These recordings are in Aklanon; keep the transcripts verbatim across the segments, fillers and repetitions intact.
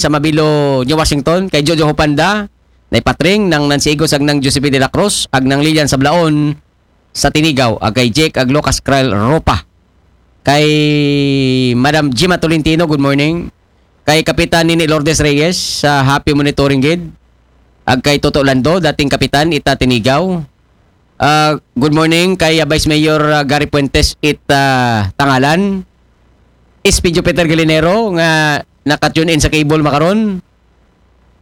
sa Mabilo, New Washington, kay Jojo Hupanda, Nay Patring, nang Nancy Igos, ag nang Josephine de la Cruz, ag nang Lilian Sablaon, sa Tinigaw, ag kay Jake, ag Lucas Krell Ropa. Kay Madam Jima Tolentino, good morning. Kay Kapitan Nini Lourdes Reyes, sa happy monitoring gid. Ag kay Toto Lando, dating kapitan, ita Tinigaw. Ah, good morning kay, ah, Vice Mayor, ah, Gary Puentes, ita Tangalan. S P Jupiter Galinero, nga naka-tune in sa cable makaron.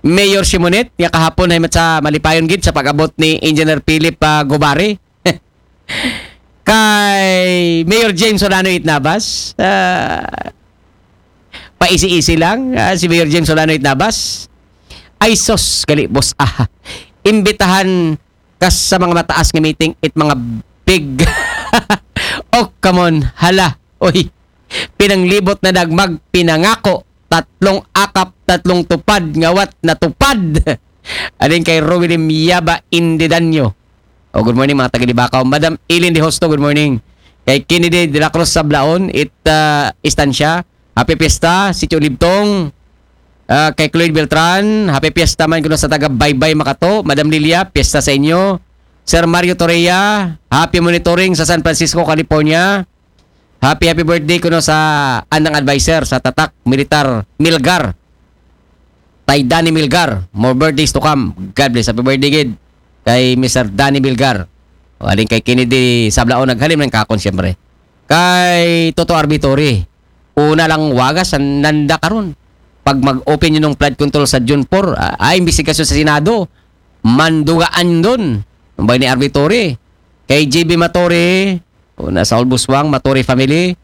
Mayor Simonet, nga kahapon ay sa malipayon gid sa pag-abot ni Engineer Philip, ah, Gubari. Kay Mayor James Solano Itnabas, ah, paisi-isi lang, ah, si Mayor James Solano Itnabas. Ay sus, gali, boss. Ah, imbitahan ka sa mga mataas nga meeting, it mga big. Oh, come on, hala. Oy, pinanglibot na dag magpinangako. Tatlong akap, tatlong tupad, ngawat natupad. Adin kay Rowilyn Yaba Indidanyo. Oh, good morning, mga taga Libacao. Madam Eileen De Hosto, good morning. Kay Kennedy de la Cruz Sablaon, it, ah, Estancia. Happy Fiesta, Sitio Libtong. Ah, kay Cloyd Beltran, happy Fiesta man kuno sa taga Baybay Makato. Madam Lilia, Fiesta sa inyo. Sir Mario Torreya, happy monitoring sa San Francisco, California. Happy, happy birthday kuno sa andang adviser sa Tatak Militar, Milgar. Tay Danny Milgar, more birthdays to come. God bless. Happy birthday gid kay Mister Danny Milgar. O, alin kay Kennedy Sablaon, naghalim ng kakon, siyempre. Kay Toto Arbitori, una lang wagas, an-, nanda karon. Pag mag-open yun ng flood control sa June four, ah, ay, imbestigasyon sa Senado, mandugaan dun. Ang bay ni Arbitori. Kay J B Matori, una sa Albuswang, Matori family.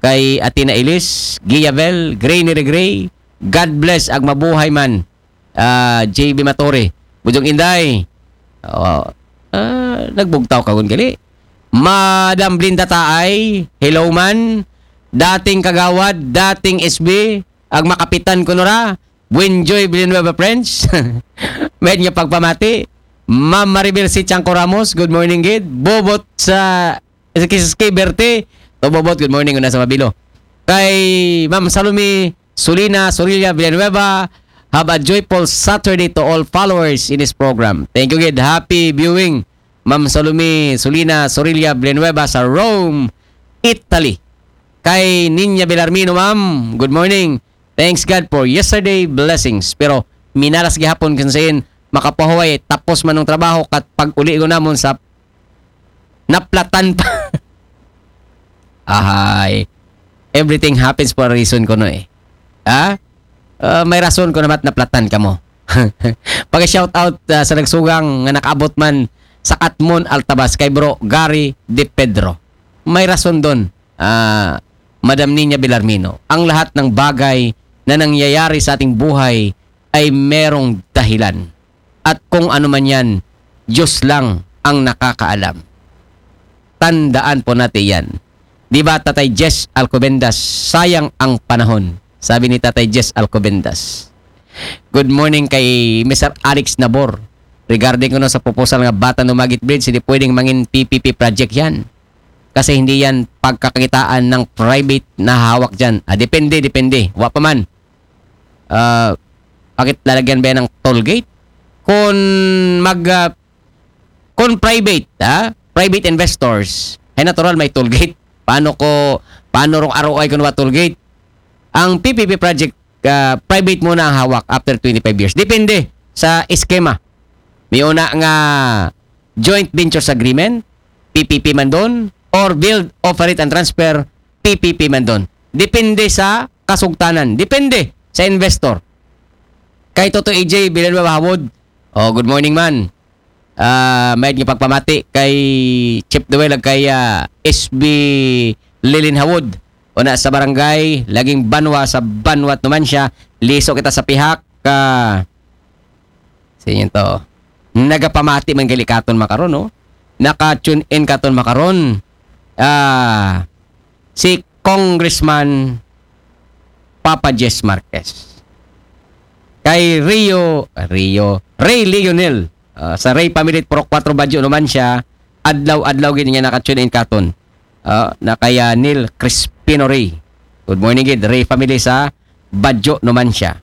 Kay Athena Ilis, Giavel, Gray ni Regray. God bless, ag mabuhay man. Ah, J B Matori. Bujong Inday. Oh, ah, nagbugtaw ka gun gali. Madam Blinda Taay, hello man. Dating kagawad, dating S B, ag makapitan kuno ra. Buenjoy Villanueva French. Med nga pagpamati. Ma'am Maribel C. Chanco Ramos, good morning gid. Bobot sa Kiski Berte. To Bobot, good morning, una sa Mabilo. Kay Ma'am Salome Sulina Sorilla Villanueva, have a joyful Saturday to all followers in this program. Thank you gid. Happy viewing, Ma'am Salome Sulina Sorilla Villanueva sa Rome, Italy. Kay Ninya Belarmino, ma'am, good morning. Thanks God for yesterday blessings. Pero minalas gihapon kung saan makapahuway, tapos man ng trabaho, kat pag uli ko namon sa naplatan pa. Ahay. Everything happens for a reason kuno eh. Ha? Ah, may rason kuno mat naplatan kamo. Pag-shout out, ah, sa nagsugang nga nakaabot man sa Katmon, Altabas, kay Bro Gary De Pedro. May rason dun, ah, Madam Ninya Belarmino. Ang lahat ng bagay na nangyayari sa ating buhay ay merong dahilan. At kung ano man yan, Diyos lang ang nakakaalam. Tandaan po natin yan. Di ba, Tatay Jess Alcobendas, sayang ang panahon. Sabi ni Tatay Jess Alcobendas. Good morning kay Mister Alex Nabor. Regarding kuno sa proposal nga Batan Dumaguete Bridge, hindi pwedeng mangin P P P project yan. Kasi hindi yan pagkakakitaan ng private na hawak dyan. Ah, depende, depende. Wa pa man. Ah, bakit lalagyan ba yan ng toll gate? Kung mag, ah, kung private, ha? Private investors, ay natural may toll gate. Paano ko, paano rong R O I kung wa toll gate? Ang P P P project, ah, private muna ang hawak after twenty-five years. Depende sa eskema. May una nga joint ventures agreement, P P P man doon, or build, operate and transfer, P P P man doon. Depende sa kasugtanan. Depende sa investor. Kay Toto A J Villanueva Hawod. Oh, good morning man. Ah, may nga pagpamati kay Chief Duel ag kay, ah, S B Lilin Hawod. Una sa barangay, laging banwa sa banwat naman siya. Liso kita sa pihak ka, sa inyo to. Nagapamati man gali katon makaron, no? Naka-tune in katon makaron. Ah, si Congressman Papa Jess Marquez. Kay Rio, Rio, Ray Lionel, ah, sa Ray Family Purok four Baguio naman siya, adlaw-adlaw gid niya naka-tune in katon. Ah, na kaya Neil Crispino Ray. Good morning gid, Ray Family sa Baguio naman siya.